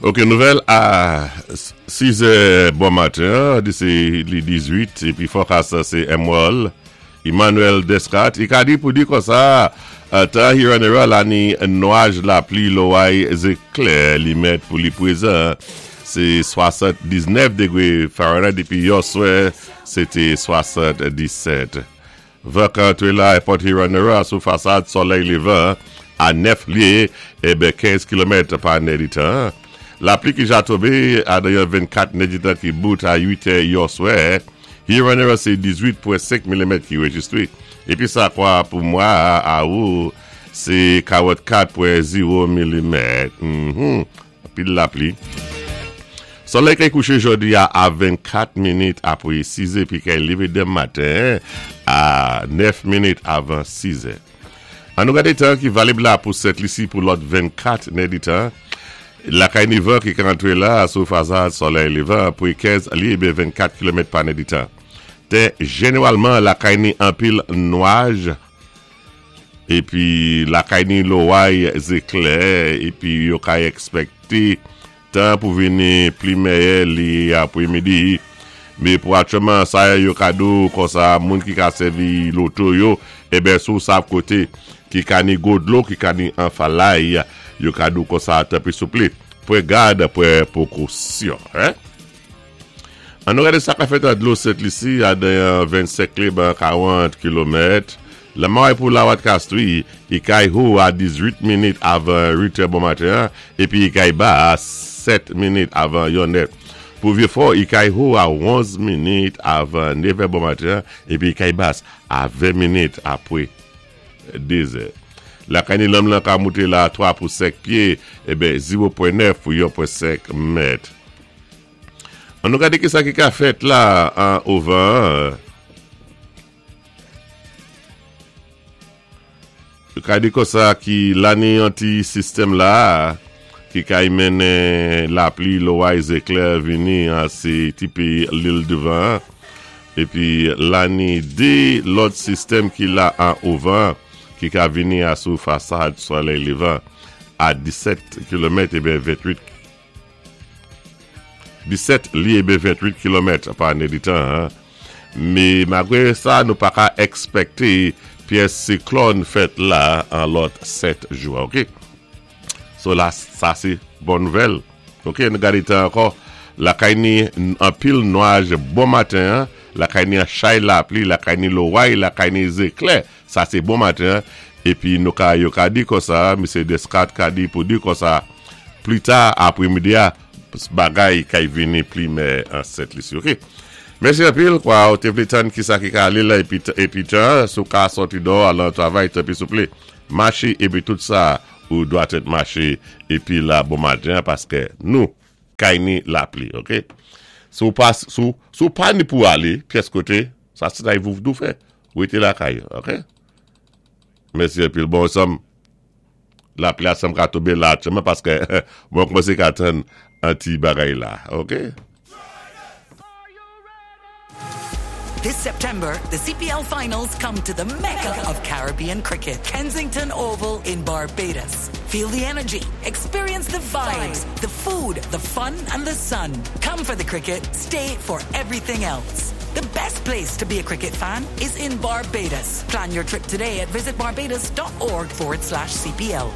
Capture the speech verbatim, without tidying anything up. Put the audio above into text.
Ok, nouvèl a sis è bon maten, di sé li dizuit, épi forecast sé Emerald, Emmanuel Descartes, i ka di pou di konsa, tan Huron-Huron la ni nwaj, lapli, loway, zéklè, li mèt pou li pwézan, sé swasanndiznèf dégwé Fahrenheit, épi yèswè, sé té swasanndisèt. Van ka antré la, Port Huron-Huron, sou fasad solèy lévan, a nèf lyé, ében kenz kilomèt pa nèditan. Lapli ki ja tonbé adan vennkat nèditan ki bout a uit è yèswè, Huron-Huron sé dizuit pwen senk milimèt ki réjistré. Épi sa kwa pou mwa awou, sé karannkat pwen zewo milimèt. Mm-hmm. Pil lapli. Solèy ki kouché jòdi a a vennkat minit apwé sis è, pi kay lévé denmen maten a nèf minit avan sis è. An nou gadé tan ki valib la pou Sent Lisi pou lòt vennkat nèditan. Lakay ni van ki ka antré la sou fasad solèy lévan pou kenz lyé ében vennkat kilomèt pa nèditan. Té jénéwalman lakay ni anpil nwaj épi lakay ni loway zéklè épi yo ka èkspèkté tan pou vini pli mèyè li apwémidi. Mé pou aktyèlman sa yo ka di konsa moun ki ka sèvi loto yo ében sou sav koté ki ka ni gwo dlo ki ka ni anfalay yo ka di konsa tanpwi souplé pwan gad pwan pwékosyon hein? An nou gadé sa ka fèt an dlo Sent Lisi a den vennsenk lé ben karant kilomèt. Lanmè pou Lawat Castries, i kay wo a dizuit minit avan uit è bon maten épi i kay ba a sèt minit avan yon è. Pou Vieux-Fort, i kay wo a onz minit avan nèf è bon maten épi i kay bas a ven minit apwé de zè. Lakay ni lanmè ka mouté la twa pou senk pyé, ében zewo pwen nèf pou yon pwen senk mèt. An nou gadé ki sa ki ka fèt la an ovan. Yo ka di konsa ki la ni yon ti sistèm la ki kay mennen lapli, loway, zéklè vini an sé ti péyi Lil Devan. Épi la ni dé lòt sistèm ki la an ovan ki ka vini a sou fasad solèy lévan a disèt kilomèt ében ventwit disèt lyé ében ventwit kilomèt pa nèditan. Hein? Mé malgwé sa, nou pa ka èkspèkté pyès siklòn fèt la an lòt sèt jou, ok? So la, sa sé bon nouvèl. Ok, nou gadé tan ankò. Lakay ni anpil nwaj bon maten, hein? Lakay ni an chay lapli, lakay ni loway, lakay ni zéklè. Sa sé bon maten. Épi nou ka yo ka di konsa, Misyé Descartes ka di pou di konsa, pli ta apwémidi a, bagay kay vini pli mèyè an Sent Lisi, ok? Mèsi anpil, kwa ou té vlé tann ki sa ki ka alé la épi, épi tan, sou ka sòti dò al nan travay, tanpwi souplé, maché épi tout sa ou dwa tèt maché épi la bon maten paské nou kay ni lapli, ok? Sou pa, sou, sou pa ni pou alé, pyès koté, sa sé sa vou dou fè, ou été lakay, ok? Mèsi anpil, bon sanm, lapli a sanm ka tonbé la aktyèlman paské mwen koumansé ka tann an ti bagay la, ok? This September, the C P L Finals come to the mecca of Caribbean cricket, Kensington Oval in Barbados. Feel the energy, experience the vibes, the food, the fun, and the sun. Come for the cricket, stay for everything else. The best place to be a cricket fan is in Barbados. Plan your trip today at visitbarbados dot org forward slash C P L.